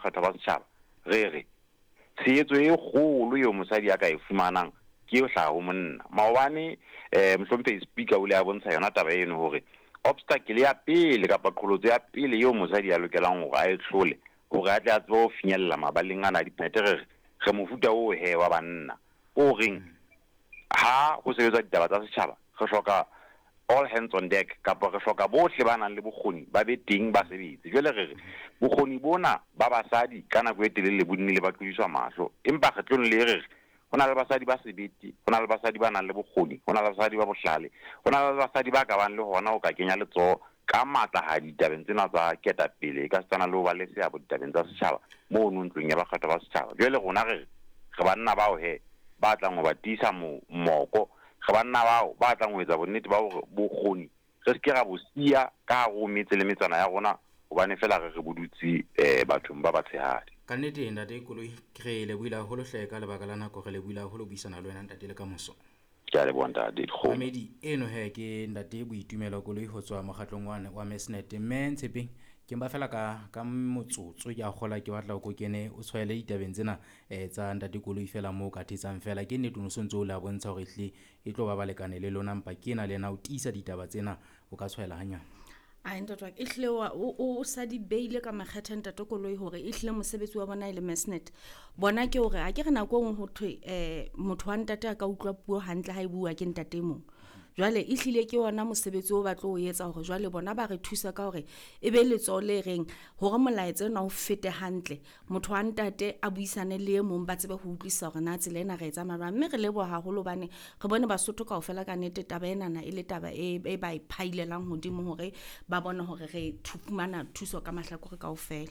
bakgethwa ba setjhaba, re re tshehetso e kgolo eo mosadi a ka e fumanang ke e hlaha ho monna. Maobane mohlomphehi speaker o ile a bontsha yona taba eno hore obstacle ya pele kapa qholotso ya pele eo mosadi a lokelang hore a e hlole hore a tle a tsebe ho finyella mabaleng ana a diphete, re re mofuta oo he wa banna o reng ha ho sebetswa ditaba tsa setjhaba re hloka all hands on deck, kapa re hloka bohle ba nang le bokgoni ba be teng ba sebetse. Jwale re re bokgoni bona ba basadi ka nako e telele bo nnile ba tlodiswa mahlo, empa kgetlong le re re ho na le basadi ba sebete, ho na le basadi ba nang le bokgoni, ho na le basadi ba bohlale, ho na le basadi ba ka bang le hona ho ka kenya letsoho ka matla ha ditabeng tsena tsa ketapele, e ka setsana le ho ba le seabo ditabeng tsa setjhaba mono ntlong ya bakgethwa ba setjhaba. Jwale rona re re banna bao he ba tlang ho ba tiisa moko, re banna bao ba tlang ho etsa bonnete ba hore bokgoni re se ke ra bo siya ka hare ho metse le metsana ya rona, hobane fela re re bodutse bathong ba batshehadi. Ka nnete ntate Koloi, re lebohile haholo hle ka lebaka la nako, re lebohile haholo buisana le wena ntate le ka moso. Ke a leboha ntate Dikgomo. Mamedi eno he ke ntate Boitumelo Koloi ho tswa mokgatlong wa Mesnet. Mme Ntshepeng, ke mpa fela ka motsotso ke a kgola ke batla o kene o tshwaele ditabeng tsena tsa ntate Koloi fela moo ka thetsang fela. Ke nnete o no sontso o le a bontsha hore ehlile e tlo ba balekane le lona, mpa ke ena le yena o tiisa ditaba tsena, o ka tshwaela hanyane. Ai ntate wa ka, ehlile o sa di beile ka makgethe ntate Koloi hore ehlile mosebetsi wa bona e le Mesnet. Bona ke hore ha ke re nako e nngwe ho thwe motho wa ntate a ka utlwa puo hantle ha e bua ke ntate e mong. Jwale ehlile ke ona mosebetsi o ba tlo o etsa hore jwale bona ba re thusa ka hore e be letsoho le reng hore molaetsa ona o fete hantle, motho wa ntate a buisane le e mong ba tsebe ho utlwisisa hore na tsela ena re e tsamaya jwang. Mme re leboha haholo hobane re bone Basotho kaofela ka nnete taba enana e le taba e ba e phailelang hodimo hore ba bone hore re fumana thuso ka mahlakore kaofela.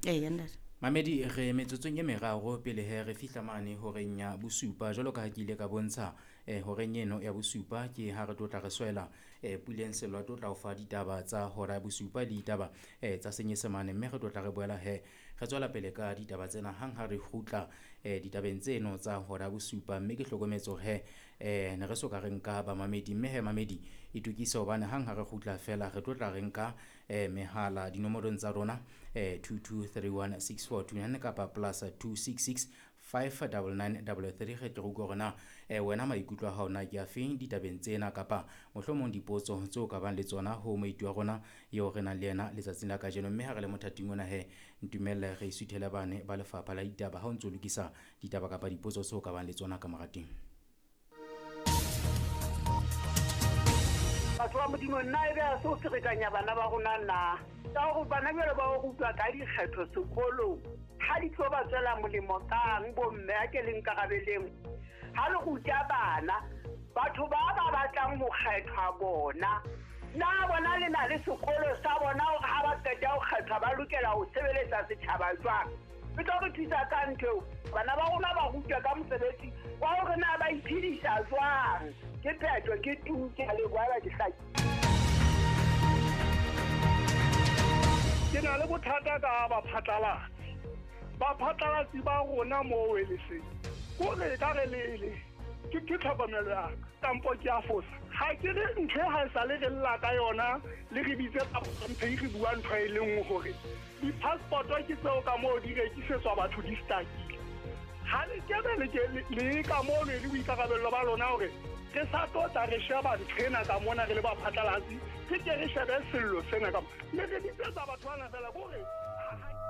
Eya ntate. Mamedi, re metsotsong e meraro pele he re fihla mane horeng ya bosupa. Jwalo ka ha ke ile ka bontsha horeng eno ya bosupa ke ha re tlo tla re swela Puleng Sello a tlo tla o fa ditaba tsa hora ya bosupa le ditaba tsa Senyesemane, mme re tlo tla re boela he re tswela pele ka ditaba tsena hang ha re kgutla ditabeng tseno tsa hora ya bosupa. Mme ke hlokometse hore he ne re so ka re nka bamamedi, mme he mamedi itokise hobane hang ha re kgutla fela re tlo tla re nka mehala dinomorong tsa rona 22316429 kapa plus 266 59933. Re tlo utlwa hore na wena maikutlo a hao na ke afeng ditabeng tsena, kapa mohlomong dipotso tseo ka bang le tsona ho moeti wa rona eo re nang le yena letsatsing la kajeno. Mme ha re le mothating ona he, ntumelle re isuthele bane ba lefapha la ditaba ha o ntso lokisa ditaba kapa dipotso tseo ka bang le tsona ka morateng. Batho ba Modimo, nna e be a se o ferekanya bana ba rona na? Ka hore bana jwale ba o rutwa ka dikgetho sekolong, ha di tlo ba tswela molemo kang bomme a ke le nkarabeleng? Ha le ruta bana, batho ba ba batlang ho kgethwa bona, na bona le na le sekolo sa bona hore ha ba qeta ho kgethwa ba lokela ho sebeletsa setjhaba jwang? E tlo re thusa ka ntho eo. Bana ba rona ba rutwa ka mosebetsi wa hore na ba iphedisa jwang. Ke phetho, ke tu, ke a leboha, ba ke hlaki. Ke na le bothata ka baphatlalatsi. Baphatlalatsi ba rona moo e le seng. Kore ka re le ke tlhokomelo ya ka, kampo ke a fosa. Ha ke re ntho e ha e sa le re lla ka yona, le re bitse mphe re bua ntho e le nngwe hore di-passport-o ke tseo ka moo di rekisetswa batho di stakile. Ha le kebe le ke le ka moo le boikarabello ba lona hore re sa tlo tla re sheba ntho ena ka mona re le baphatlalatsi, re ke re shebe sello sena ka mona. Le re bitsetsa batho bana fela kore